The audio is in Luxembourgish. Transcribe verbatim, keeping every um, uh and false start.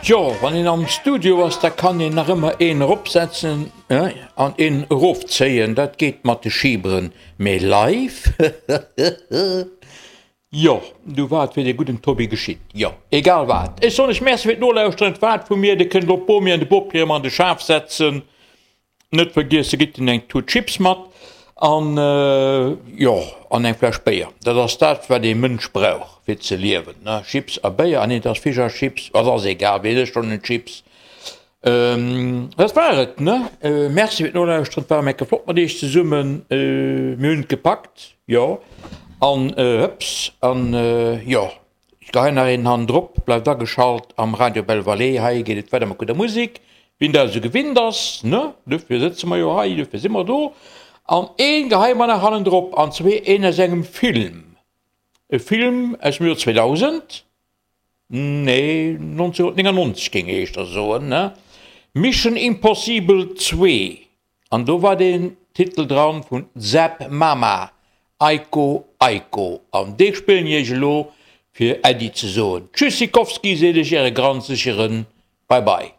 Jo, wann een am Studio ass, da kann een nach ëmmer een eropsetzen an een erofzéien, dat geet mat de Schiberen, mee live? Jo, du war et wéi de gudden Tobi geschitt. Jo, egal wat. Ech soen lech Merci fir d'Nolauschteren. Et war et vu mir. Dir kënnt elo d'Bomi an de Bopi erëm an de Schaf setzen. Net vergiesse, gitt hinnen eng Tut Chips mat an, jo, an eng Fläsch Béier. Dat ass dat, wat ee Mënsch brauch, fir ze liewen, ne? Chips a Béier. Ah nee, et ass Fisch a Chips. Et ass egal, wien ëscht schonn en Chips? Dat war et, ne? Merci fir d'Nolauschteren. Et war eng Kéier flott mat iech zesummen. Mir hunn et gepackt, jo. An hëps, an jo, ech geheien nach een hannendrop. Bleift ageschalt am Radio Belle Vallée. Hei geet et weider mat gudder Musek, wien dat esou gewinnt ass, ne? Dofir sëtze mer jo hei, dofir si mer do. An een geheie mer nach hannendrop, an zwee een aus engem Film. E Film aus dem Joer zweedausend. Nee, nonzénhunnertnéngannonzeg géing ech éischter soen, ne? Mission Impossible zwee, an do war deen Titel dran vun Zap Mama, Aiko Aiko, an dee spillen ech iech elo fir Äddi ze soen. Tschüssikowski seet iech äre granzegeren Bye Bye.